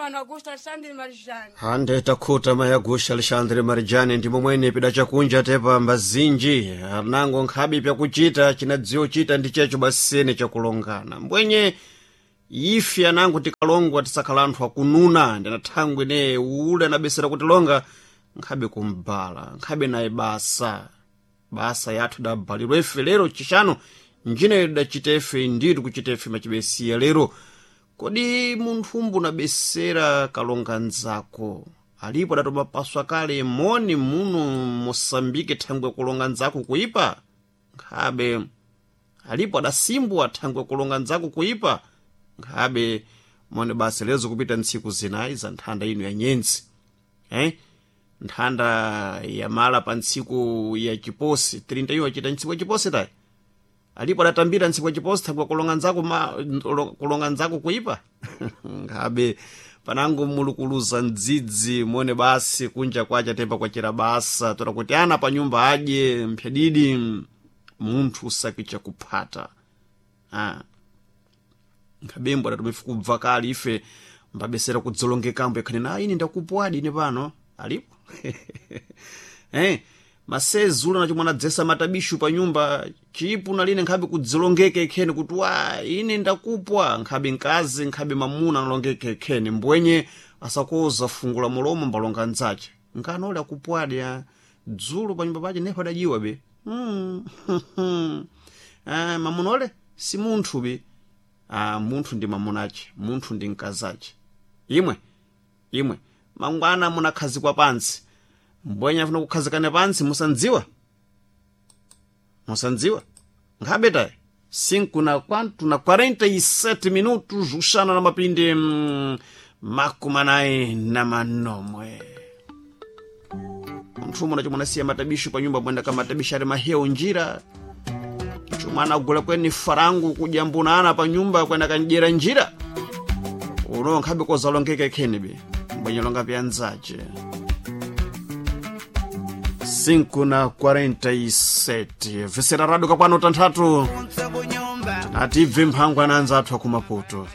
mano Augusto Alexandre Marijani. Hande takhuta mayi Augusto Alexandre Marijani, ndi momwene pida chakunja tepa mbazinji anango nkhabe pyakuchita chinadziwo chita ndi checho basene chakulongana mbwenye ife anango tikalongwa tisakhala anthu akununa, ndina thangwe ne ule anabesera kutilonga nkhabe kumbala nkhabe naye basa basa yathu dabalirwa ife lero chixano njine dachitefe nditu kuchitefe machibesiya lero. Kodi munthu mbunabesera kalonga nzako alipo adatomapaswa kale moni muno Mosambike thangwe kulonga nzako kuipa? Nkhabe alipo adasimbwa thangwe kulonga nzako kuipa? Nkhabe mone basi lezo kupita ntsiku zinayi za nthanda ino ya nyenzi, eh? Nthanda yamala pa ntsiku ya chiposi 31 achita ntsiku ya chiposi tayi alipo adatambira ntsiku ya chiposi thangwe kulonga nzako kulonga nzako kuipa. Nkhabe panango mulukuluza mdzidzi mone basi kunja kwacha temba kwachera basa tola kuti ana pa nyumba adye mphyadidi munthu usakicha kuphata. Ah. Nkhabembo adatumifu kubva kale ife mbabesera kudzolongekambo ikhani na ine ndakupwadi ine pano alipo. Masezi ula nachomwe anadzesa matabishu pa nyumba chipu naline nkhabe kudzilongeka ikheni kuti wa ine ndakupwa, nkhabe mkazi nkhabe mamuna analongeka ikheni mbwenye asakoza fungu la mulomo mbalonga nzace nkanole akupwadi a dzulo pa nyumba pace nepo adajiwa be. Mamuna ole si munthu be. Munthu ndi mamunace, munthu ndi mkazace. Imwe imwe mangwana munakhazikwa pansi mbwenye afuna kukhazikana pansi musandziwa musandziwa nkhabe tayi 5 na kwantu na 47 minutos uxana na mapindi 46. Munthu umwe nachomwe anasiya matabisho pa nyumba mwenda kamatabisho ali mahewu njira chomwe anagula kweni farangu kudyambunana pa nyumba kwenda kandyera njira uno nkhabe kozalongeka ikheni be mbwenye longa pyanzace. 5 na 47 vesera rado kakwano tanthatu tinati ibve mphangwa ananza athu akumaputo.